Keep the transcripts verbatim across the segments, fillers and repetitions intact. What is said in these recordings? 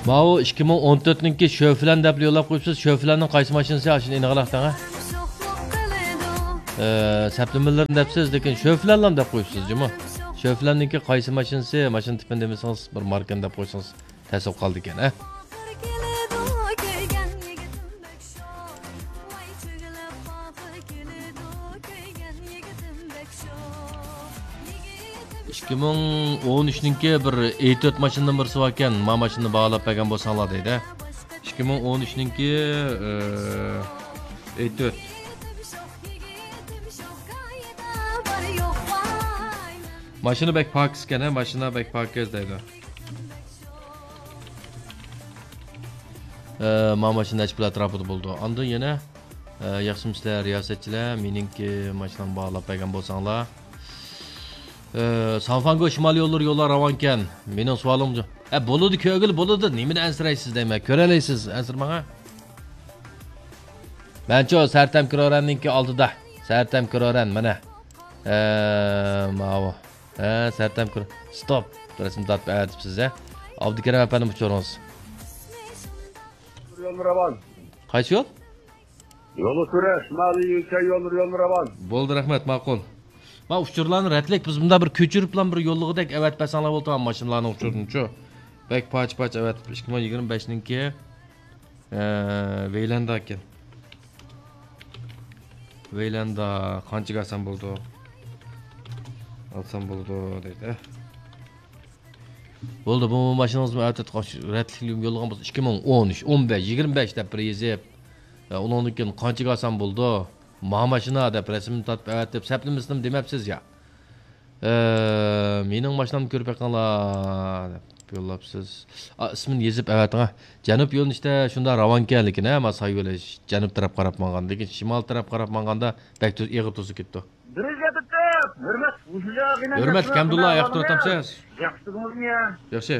ماۋۇ ئىككى مىڭ ئون تۆتنىڭكى شۆفلەن دەپ يوللاپ قويۇپسىز. شۆفلەننىڭ قايسى ماشىنىسى؟ ئاشۇنى ئېنىقلاق دەڭە. ئە، سەپلىمىلىرىنى دەپسىز، لېكىن شۆفلەنلام دەپ قويۇپسىز جۇمۇ. شۆفلەننىڭكى قايسى ماشىنىسى؟ ماشىنا تىپىنى دېمىسىڭىز، بىر ماركىنى دەپ قويسىڭىز تەس بولۇپ قالىدىكەن، ھە؟ ئىككى مىڭ ئون ئۈچنىڭكى بىر ئېي تۆت ماشىنىدىن بىرسى باركەن، ما ماشىنىنى باھالاپ بەرگەن بولساڭلار دەيدۇ. ئىككى مىڭ ئون ئۈچنىڭكى، ئە، ئېي تۆت. ماشىنا بەك پاكىز ئىكەن، ھە، ماشىنا بەك پاكىز دەيدۇ. ئە، ما ماشىنا نەچچە پۇل ئەتراپىدا بولىدۇ. ئاندىن يەنە، ئە، ياخشىمۇسىلەر رىياسەتچىلەر، مېنىڭكى ماشىنامنى باھالاپ بەرگەن بولساڭلار. ئە، سانفانگو شىمال يوللىرى يوللار راۋانكەن. مېنىڭ سوئالىم جۇ-، ئە، بولىدۇ، كۆرگىلى بولىدۇ. نېمىنى ئەنسىرەيسىز دەيمەن، كۆرەلەيسىز، ئەنسىرىمەڭ، ھە. مەنچۇ سەرتەم كرورەننىڭكى ئالدىدا. سەرتەم كرورەن، مانا. ئە، ماۋۇ. ھە، سەرتەم كرو-، ستوپ. رەسىم تارتىپ ئەۋەتىپسىز، ھە. ئابدۇكېرىم ئەپەندىم، ئۇچۇرىڭىز. يول راۋان. قايسى يول؟ يولى تۆرە، شىمالىي يۈركەن يوللىرى يولى راۋان. بولدى، رەھمەت، ماقۇل. ما ئۇچۇرلارنى رەتلىك بىز مۇندا بىر كۆچۈرۈپلا بىر يوللىغۇدەك ئەۋەتىپ بەرسەڭلار بولىدۇ، ماشىنىلارنىڭ ئۇچۇرىنىچۇ. بەك پاچ-پاچ ئەۋەتىپ، ئىككى مىڭ يىگىرمە بەشنىڭكى، ئە، ۋەيلەندا ئىكەن. ۋەيلەندا قانچىگە ئالسام بولىدۇ؟ ئالسام بولىدۇ دەيدۇ. بولدى، بۇ ماشىنىڭىزمۇ ئەتە رەتلىك يوللىغان بولسا، ئىككى مىڭ ئون ئۈچ، ئون بەش، يىگىرمە بەش دەپ بىر يېزىپ، ئە، ئۇنىڭدىن كېيىن قانچىگە ئالسام بولىدۇ؟ ما ماشىنا دەپ رەسىمنى تارتىپ ئەۋەتىپ، سەپلىمىسىنىمۇ دېمەپسىز يا. ئە، مېنىڭ ماشىنامنى كۆرۈپ بېقىڭلار دەپ يوللاپسىز. ئا، ئىسمىنى يېزىپ ئەۋەتىڭ، ھە. جەنۇب يۆنىلىشتە شۇنداق راۋانكەن، لېكىن، ھە، ما سايۋېلىش جەنۇب تەرەپ قاراپ ماڭغان، لېكىن شىمال تەرەپ قاراپ ماڭغاندا بەك تۈز-، ئېغىر توسۇپ كېتىدۇ. بىر يۈز يەتتە، ھۆرمەت، ھۆرمەتلىك ھەمدۇللا، ياخشى تۇرۇۋاتامسىز؟ ياخشى تۇردىڭىزمۇ يا؟ ياخشى.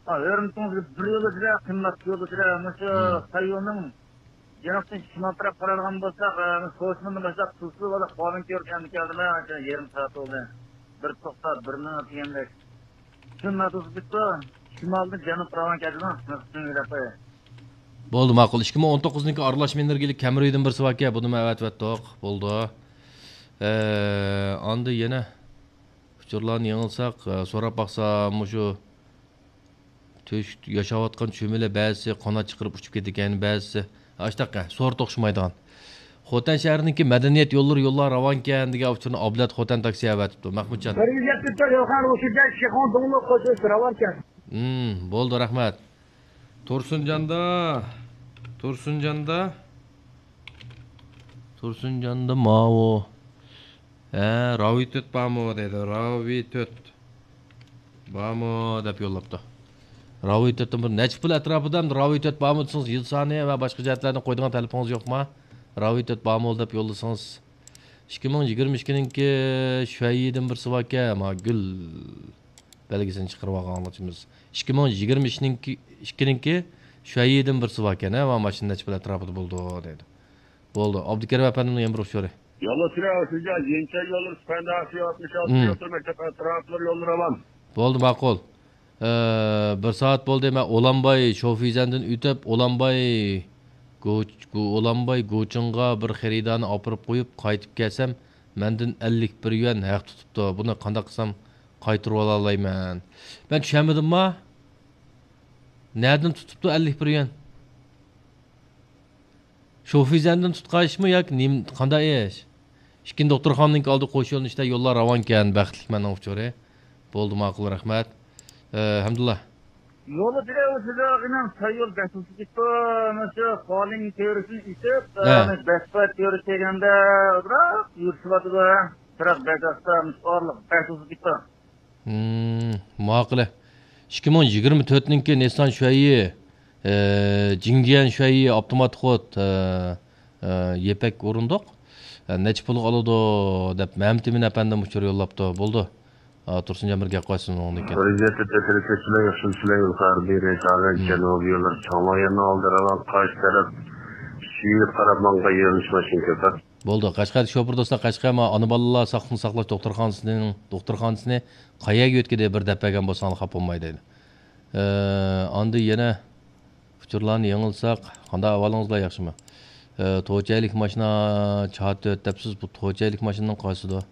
ھا، ھۆرمىتىڭىزگە بىر يولدىشىدا، قىممەت يولدىشىدا، مۇشۇ سايۋېلنىڭ جەنۇبتىن شىمال تەرەپ قارايدىغان بولساق، ئە، سوشمىدىن باشلاپ تۇزلۇ ۋە قالىن كۆرۈپ ئەمدى كەلدىم، ھە، يېرىم سائەت بولدى. بىر توختاپ، بىر مىنۇت دېگەندەك. شۇنداق تۇزلۇق كېتىپتۇ. شىمالدىن جەنۇب راۋان كەلدىمۇ؟ شۇنى دەپ قوياي. بولدى، ماقۇل. ئىككى مىڭ ئون توققۇزنىڭكى ئارىلاشما ئېنېرگىيەلىك كەمرى دېگەن بىرسى باركەن، بۇنىمۇ ئەۋەتىۋەتتۇق. بولدى. ئە، ئاندىن يەنە ئۇچۇرلارنى يېڭىلساق، ئە، سوراپ باقسام، مۇشۇ تۆش-، ياشاۋاتقان چۆمىلە بەزىسى قانات چىقىرىپ ئۇچۇپ كېتىدىكەن، بەزىسى ئاشتاق، سورت ئوخشىمايدىغان. خوتەن شەھىرىنىڭكى مەدەنىيەت يوللىرى يوللار راۋانكەن دېگەن ئۇچۇرنى ئابلەت خوتەن تاكسى ئەۋەتىپتۇ. مەخمۇتجان. بىر يۈز يەتمىش تۆت يوخان روشىدە شىخۇڭ دۇڭلۇق قوشۇنى راۋانكەن. ھىم، بولدى، رەھمەت. تۇرسۇنجاندا، تۇرسۇنجاندا، تۇرسۇنجاندا ماۋۇ. ھە، راۋى تۆت بارمۇ دەيدۇ، راۋى تۆت بارمۇ دەپ يوللاپتۇ. راۋى تۆتتىن بىر نەچچە پۇل ئەتراپىدا ئەمدى راۋى تۆت بارمۇ دېسىڭىز، يىل سانى ۋە باشقا جەھەتلەردىن قويىدىغان تەلىپىڭىز يوقما؟ راۋى تۆت بارمۇ دەپ يوللىسىڭىز. ئىككى مىڭ يىگىرمە ئىككىنىڭكى شۈەييىدىن بىرسى باركەن، ما گۈل بەلگىسىنى چىقىرىۋالغان ئاڭلىتىمىز. ئىككى مىڭ يىگىرمە ئىككىنىڭكى، ئىككىنىڭكى شۈەييىدىن بىرسى باركەن، ھە، ما ماشىنا نەچچە پۇل ئەتراپىدا بولىدۇ دەيدۇ. بولدى. ئابدۇكېرىم ئەپەندىمنىڭ يەنە بىر ئۇچۇرى. يوللار سۈرە ئۆتۈلگەن يېڭىچە يوللار سۈپەنداسى ئاتمىش ئالتە مم. يوتۇر مەكتەپ ئەتراپلىرى يوللىرى ئامان. بولدى، ماقۇل. ئە، بىر سائەت بولدى، مەن ئولانباي شوفىزەندىن ئۆتۈپ، ئولانباي گۇ-، گۇ-، ئولانباي گۇچىڭغا بىر خېرىدارنى ئاپىرىپ قويۇپ، قايتىپ كەلسەم، مەندىن ئەللىك بىر يۈەن ھەق تۇتۇپتۇ. بۇنى قانداق قىلسام قايتۇرۇۋالالايمەن؟ مەن چۈشەنمىدىمما؟ نەدىن تۇتۇپتۇ ئەللىك بىر يۈەن؟ شوفىزەندىن تۇتقان ئىشمۇ ياكى نېمە، قانداق ئىش؟ ئىككىنچى دوختۇرخانىنىڭكى ئالدى قوش يۆنىلىشتە يوللار راۋانكەن، بەختلىك مەننىڭ ئۇچۇرى. بولدى، ماقۇل، رەھمەت. ئە، ھەمدۇللا. يولى تېرەۋىسىدە ئىناق سايول بەتۇسى كېتىپتۇ. مانا شۇ قالىن تۆرىسىنى ئېتىپ، ھە. مانا بەسپە تۆرە كەلگەندە بىراق يۈرۈشۈۋاتىدۇ. بىراق بەك ئاستا، مۇشۇ ئارىلىق بەتۇسى كېتىپتۇ. ھىم، ماقۇلە. ئىككى مىڭ يىگىرمە تۆتنىڭكى نىسسان شۈەييى، ئە، جىڭجيەن شۈەييى ئاپتومات خود، ئە، ئە، يىپەك ئورۇندۇق. ئە، نەچچە پۇلغا ئالىدۇ دەپ مەمتىمىن ئەپەندىم ئۇچۇر يوللاپتۇ. بولدى. ئا، تۇرسۇنجان بىر گەپ قىلسۇن ئۇنىڭدىن كېيىن. رىزىيەتتە تەسىرى كۆچمەي، ياخشى سىلەي يۇقىرى بېرى، تاغا، ھىم. جەنۇبىي يوللار، چاڭلاياننىڭ ئالدى راۋان، قارشى تەرەپ، شىۋىيە قاراپ ماڭغان يۆنىلىش ماشىنا كۆپ. بولدى. قەشقەردىكى شوپۇر دوستلار، قەشقەر ما ئانا بالىلار ساقلىقنى ساقلاش دوختۇرخانىسىنىڭ، دوختۇرخانىسىنى قەيەرگە يۆتكىدى، بىر دەپ بەرگەن بولساڭلار خاپا بولماي دەيدۇ. ئە، ئاندىن يەنە ئۇچۇرلارنى يېڭىلىساق، قانداق ئەھۋالىڭىز بار، ياخشىمۇ؟ ئە، توچەيلىك ماشىنا چاتۆت دەپسىز، بۇ توچەيلىك ماشىنىنىڭ قايسىدۇ؟